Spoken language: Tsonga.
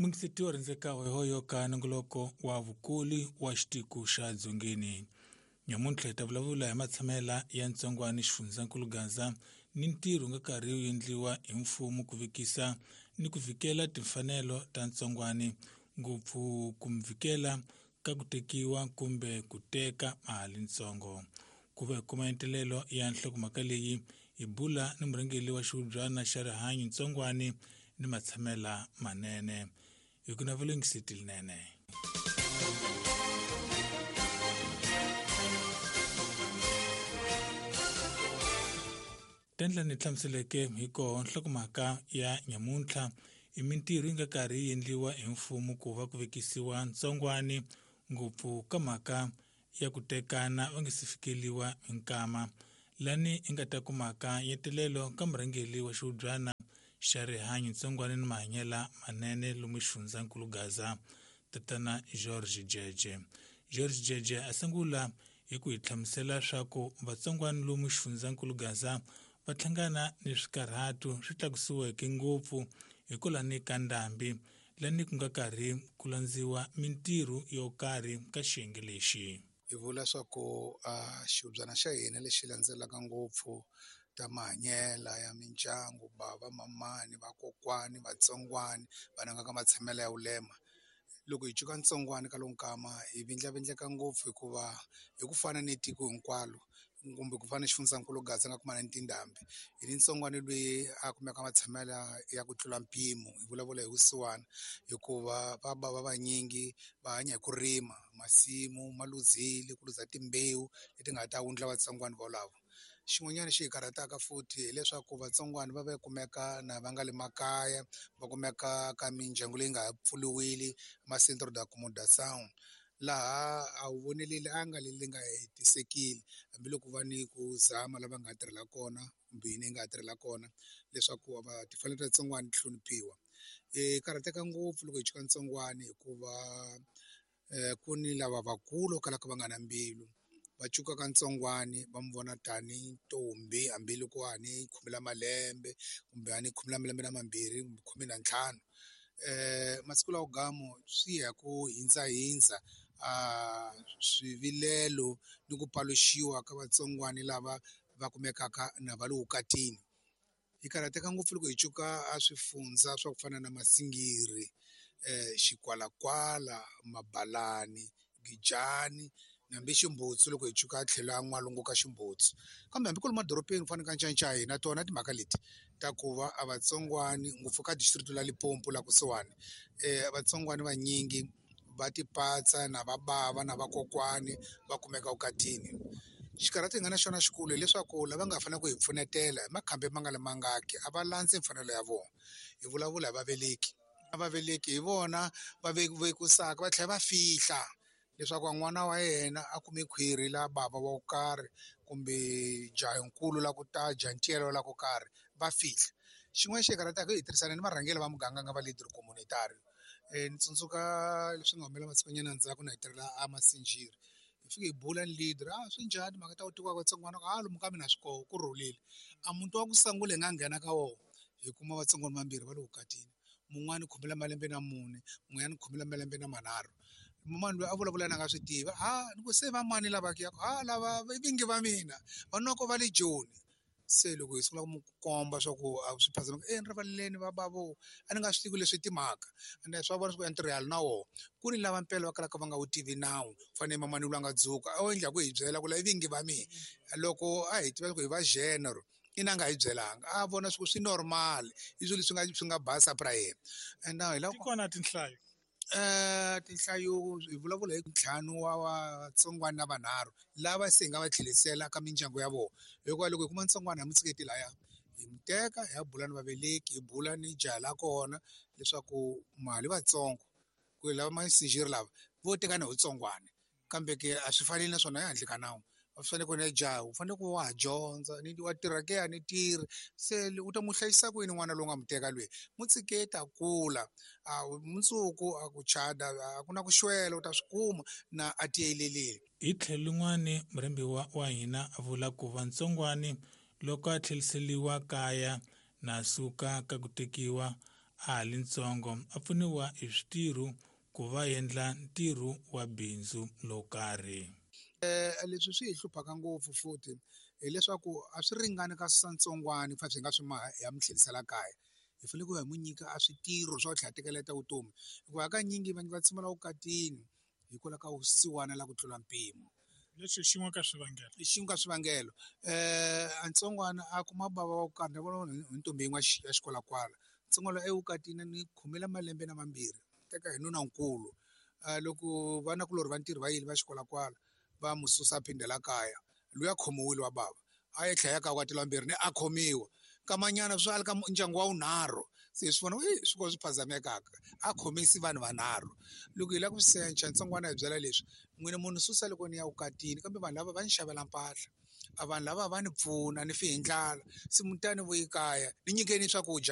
Mungisetiwa rindzeka hoyohoyo ka nongoloko wa vukuli wa xitiko xa dzongeni. Nyamuntlha hi ta vulavula hi matshamela ya ntsongwani xifundzankulu Gaza ni ntirho nga karhi wu endliwa hi mfumo ku vekisa ni ku vikela timfanelo ta ntsongwani, ngopfu ku mvikela ka ku tekiwa kumbe ku teka mali ntsongo. Ku va hi kuma entelelo ya nhlokomhaka leyi hi bula ni murhangeri wa xihubyana xa rihanyo ntsongwani ni matshamela manene. Hi ku navela yingiseti linene. Tendla ni hlamuseleke hi koho nhlokomhaka ya nyamuntlha i mintirho yi nga karhi yi endliwa hi mfumo ku va ku vekisiwa ntsongwani ngopfu ka mhaka ya ku tekana va nga si fikeliwa hi nkama lani i nga ta kumaka nyetelelo ka murhangeri wa xihubyana xa rihanyo ntsongwani ni mahanyela manene lomu xifundzankulu Gaza, tatana George Jeje. George Jeje a sungula hi ku hi hlamusela swa ku vatsongwani lomu xifundzankulu Gaza va hlangana ni swikarhatu swi tlakusiweke ngopfu hikwalani ka ndhambi lani ku nga karhi ku landziwa mintirho yo karhi ka xiyenge lexi. Hi vula swa ku xihubyana xa hina lexi landzelaka ngopfu ta mahanyela ya mindyangu, bava, mamani, vakokwani, vatsongwani, vanhu nga ka matshamelo ya vulema. Loko hi cuka ntsongwani ka lowu nkama hi vindlavindleka ngopfu hikuva hi ku fana ni tiko hinkwalo kumbe ku fana ni xifundzankulu Gaza nga kumana ni tindhambi hi ni ntsongwani loyi a kumeka matshamelo ya ku tlula mpimo hi vulavula hi vusiwana hikuva va bava vanyingi va hanya hi ku rima masimu ma luzile ku luza timbewu leti nga ta wundla vatsongwani volavo. Xin'wanyana xi hi karhataka futhi hileswaku vatsongwani va va kumeka na va nga le makaya va kumeka ka mindyangu leyi nga ha pfuriwile ma centro de accomodação laha a wu voneleli a nga leri nga hetisekile hambiloko va ni ku zama lava nga tirhela kona kumbe yini yi nga tirhela kona leswaku va timfanelo ta vatsongwani ti hloniphiwa. Hi karhateka ngopfu loko hi chuka ntsongwani hikuva ku ni lava vakulu kalaka va nga na mbilu va cukaka ntsongwani va mu vona tani ntombi hambiloko a ni khume la malembe kumbe a ni khume la malembe na mambirhi kumbe 15. Masiku lawa gamo swi ya ku hindzahindza swivilelo ni ku paluxiwa ka vatsongwani lava va kumekaka na va le vukatini. Hi karhateka ngopfu loko hi cuka a swifundza swa ku fana na Masingiri, Xikwalakwala, Mabalani, Gijani hambi Ximbutsu loko hi cuka tlhelo ya n'walungu ka Ximbutsu. Kambe hambi ku ri madorobeni ku fana na ka Ncancai na tona timhaka leti ta ku va a vatsongwani ngopfu ka district la Limpopo la kusuhani vatsongwani vanyingi va tipatsa na va bava na vakokwani va kumeka vukatini. Xikarhato hi nga na xona xikulu hileswaku lava nga fanele ku hi pfunetela hi makhambi ma nga le mangaki a va landzi mfanelo ya vona. Hi vulavula hi vaveleki, vaveleki hi vona va vekusaka va tlhela va fihla leswaku n'wana wa yena a kume khwiri la bava wa ku karhi kumbe jahankulu la ku ta jantiyela la ku karhi va fihla. Xin'wana xi hi karhataka hi tirhisana ni varhangeri va muganga nga va leader communitario. Ni tsundzuka leswi nga humelela masikunyana ndzhaku na hi tirhela a Masinjiri hi fike hi bula ni leader a swi njhani timhaka ta ku tekiwa ka vatsongwana a lomu ka mina swi koho ku rhulile. A muti wa ku sungula hi nga nghena ka wona hi kuma vatsongwana vambirhi va le vukatini mun'wani khume la malembe na mune mun'wanyana khume la malembe na manharhu. Mumani loyi a vulavula na nga swi tivi a ni ku se va mani lava ke a lava i vingi va mina va noko va le Joni. Se loko hi sungula ku mu komba swa ku a swi phazama e ni rivaleleni va bavo a ni nga swi tivi leswi timhaka ende swa vona swa ku ntirho na wona ku ni lava mpela va kalaka va nga wu tivi nawu fanele mamani loyi a nga dzuka a wu endla ku hi byela ku la i vingi va mina loko a hi tiva ku hi va genre ina a nga hi byelanga a vona swi ku swi normal i swilo leswi nga swi nga basa pra yena and now hi lava ti kona tinhlayo tinhlayo hi vulavula hi ntlhanu wa vatsongwana na vanharhu lava se hi nga va tlherisela ka mindyangu ya vona hikuva loko hi kuma ntsongwana hi mu tshiketi laya hi mu teka hi ya bula ni vaveleki hi bula ni jaha la kona leswaku mali vatsongo ku lava masinjiri lava vo tekana hi vutsongwana kambe ke a swi faneli naswona ehandle ka nawu va fanele ku na jaha u fanele ku wa ha dyondza ni wa tirha ke a ni tirhi se u ta mu hlayisa ku yini n'wana lowu nga mu teka lweyi mu tshiketi a kula a mundzuku a ku chada a ku na ku xwela u ta swi kuma na a tiyelelile. Hi tlhelo lin'wani murhembiwa wa hina a vula ku va ntsongwani loko a tlheliseliwa kaya na suka ka ku tekiwa a ha li ntsongo a pfuniwa hi switirho ku va endla ntirho wa bindzu lowo karhi. Leswi swi hi hluphaka ngopfu futhi hileswaku a swi ringani ka susa ntsongwani fa swi nga swi maha hi ya mi tlherisela kaya. Hi fanele ku hi n'wi nyika a switirho swa ku tlhela tekeleta vutomi hikuva hakanyingi vanhu va tshamela vukatini hikwalaho ka vusiwana la ku tlula mpimo. Leswi xin'we ka swivangelo. I xin'we ka swivangelo. A ntsongwana a kuma bava wa ku karhi ni vona hi ntombi yin'we ya xikwalakwala. Ntsongwana evukatini ni khomile malembe na mambirhi teka hi nunankulu. Loko vanakulorhi va ntirho va yile va xikwalakwala va mu susa a phindela kaya luya khomiwile wa bava a ye tlhela ka vukati lwambirhi ni a khomiwa kamanyana swi a li ka ndyangu wa vunharhu se hi swi vona i swi ko swi phazamekaka a khomisi vanhu vanharhu. Loko hi lava ku secha ntsongwana hi byela leswi n'wina munhu susa loko ni ya vukatini kambe vanhu lava va ni xavela mpahla a vanhu lava va ni pfuna ni fi hi ndlala se mutani vuyi kaya ni nyikeni swakudya.